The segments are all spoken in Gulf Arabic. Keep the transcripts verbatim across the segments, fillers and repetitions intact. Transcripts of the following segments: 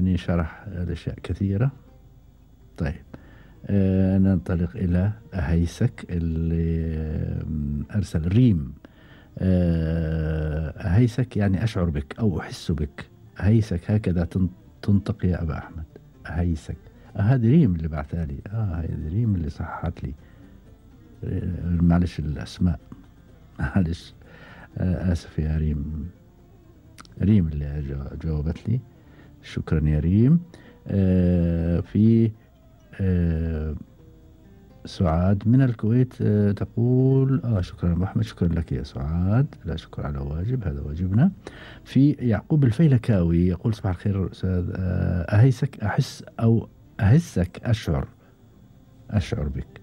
يعني شرح الأشياء كثيرة. طيب آه ننطلق إلى أهيسك اللي أرسل ريم. آه أهيسك يعني أشعر بك أو أحس بك. أهيسك هكذا تنطق يا أبا أحمد. أهيسك. آه هذه ريم اللي بعثها لي. آه هذه ريم اللي صححت لي. آه معلش الأسماء معلش. آه آسف يا ريم. ريم اللي جاوبت لي. شكرا يا ريم. آه في آه سعاد من الكويت آه تقول آه شكرا أبو أحمد. شكرا لك يا سعاد. لا شكرا على واجب، هذا واجبنا. في يعقوب الفيلكاوي يقول صباح الخير أستاذ. آه أهيسك أحس أو أهسك أشعر أشعر بك.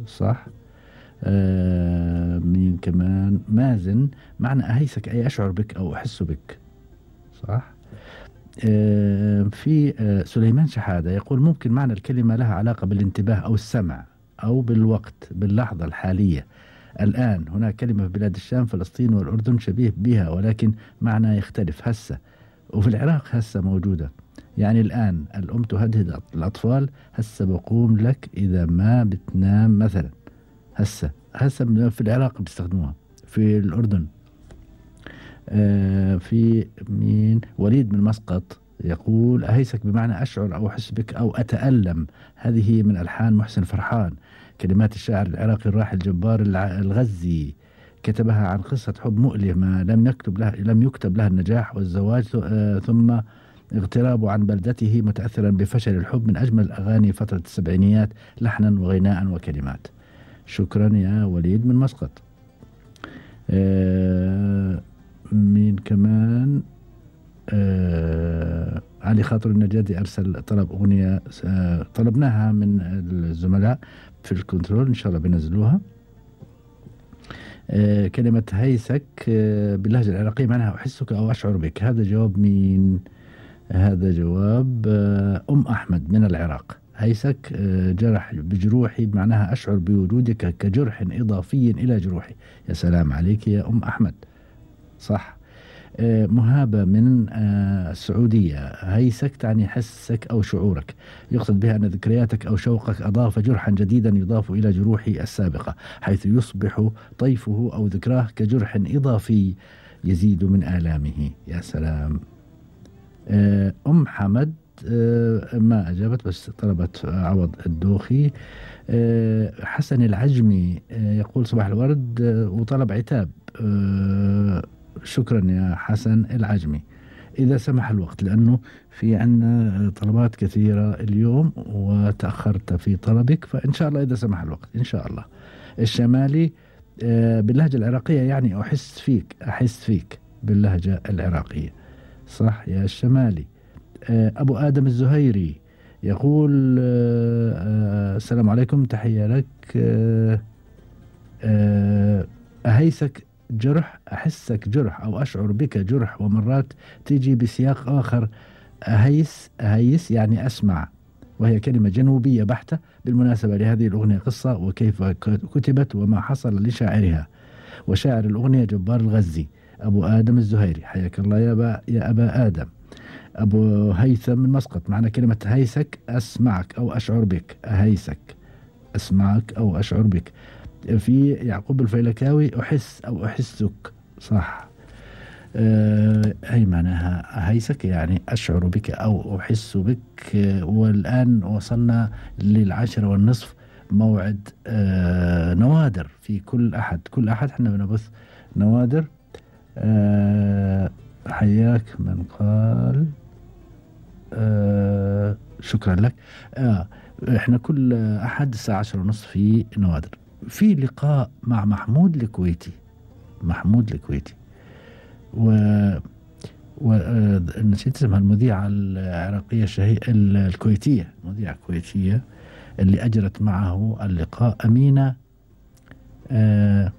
صح. آه مين كمان؟ مازن. معنى أهيسك أي أشعر بك أو أحس بك. صح. آه في آه سليمان شحادة يقول ممكن معنى الكلمة لها علاقة بالانتباه أو السمع أو بالوقت باللحظة الحالية. الآن هناك كلمة في بلاد الشام فلسطين والأردن شبيه بها ولكن معنى يختلف. هسه وفي العراق هسه موجودة. يعني الآن الأم تهدد الأطفال هسه بقوم لك إذا ما بتنام مثلا. هسه هسه في العراق بيستخدموها. في الأردن. آه في مين؟ وليد من مسقط يقول أهيسك بمعنى أشعر أو أحس بك أو أتألم. هذه من ألحان محسن فرحان. كلمات الشاعر العراقي الراحل جبار الغزي. كتبها عن قصة حب مؤلمة لم يكتب لها لم يكتب لها النجاح والزواج آه ثم اغترابه عن بلدته متأثرا بفشل الحب. من أجمل أغاني فترة السبعينيات لحنا وغناء وكلمات. شكرا يا وليد من مسقط. آه مين كمان؟ آه علي خاطر النجادي أرسل طلب أغنية آه طلبناها من الزملاء في الكنترول إن شاء الله بينزلوها. آه كلمة هيسك آه باللهجة العراقية معناها أحسك أو أشعر بك. هذا جواب مين؟ هذا جواب آه أم أحمد من العراق. هيسك آه جرح بجروحي بمعناها أشعر بوجودك كجرح إضافي إلى جروحي. يا سلام عليك يا أم أحمد. صح. آه مهابة من آه السعودية. هيسك تعني حسك أو شعورك. يقصد بها أن ذكرياتك أو شوقك أضاف جرحا جديدا يضاف إلى جروحي السابقة حيث يصبح طيفه أو ذكراه كجرح إضافي يزيد من آلامه. يا سلام. آه أم حمد آه ما أجابت بس طلبت عوض الدوخي. آه حسن العجمي آه يقول صباح الورد آه وطلب عتاب. آه شكرا يا حسن العجمي إذا سمح الوقت لأنه في عنا طلبات كثيرة اليوم وتأخرت في طلبك فإن شاء الله إذا سمح الوقت إن شاء الله. الشمالي آه باللهجة العراقية يعني أحس فيك أحس فيك باللهجة العراقية. صح يا الشمالي. آه أبو آدم الزهيري يقول آه آه السلام عليكم تحية لك. آه آه أهيسك جرح أحسك جرح أو أشعر بك جرح ومرات تيجي بسياق آخر. أهيس أهيس يعني أسمع وهي كلمة جنوبية بحتة. بالمناسبة لهذه الأغنية قصة وكيف كتبت وما حصل لشاعرها وشاعر الأغنية جبار الغزي. أبو آدم الزهيري حياك الله يا أبا, يا أبا آدم. أبو هيثم من مسقط معنى كلمة هيسك أسمعك أو أشعر بك. أهيسك أسمعك أو أشعر بك. في يعقوب الفيلكاوي أحس أو أحسك. صح. أه أي معناها هيسك يعني أشعر بك أو أحس بك. أه والآن وصلنا للعاشرة والنصف موعد أه نوادر في كل أحد كل أحد احنا بنبث نوادر. أه حياك من قال أه شكرا لك. أه احنا كل أحد الساعة عشرة ونصف في نوادر. في لقاء مع محمود الكويتي. محمود الكويتي و ونسيت اسمها المذيعة العراقية الشهيرة الكويتية مذيعة كويتية اللي أجرت معه اللقاء أمينة آه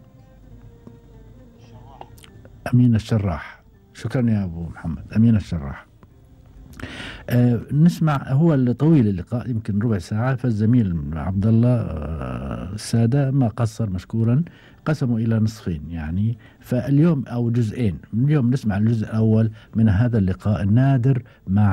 أمينة الشراح. شكرا يا أبو محمد. أمينة الشراح. آه نسمع هو الطويل اللقاء يمكن ربع ساعة فالزميل عبد الله آه السادة ما قصر مشكورا قسموا إلى نصفين يعني فاليوم أو جزئين. اليوم نسمع الجزء الأول من هذا اللقاء النادر مع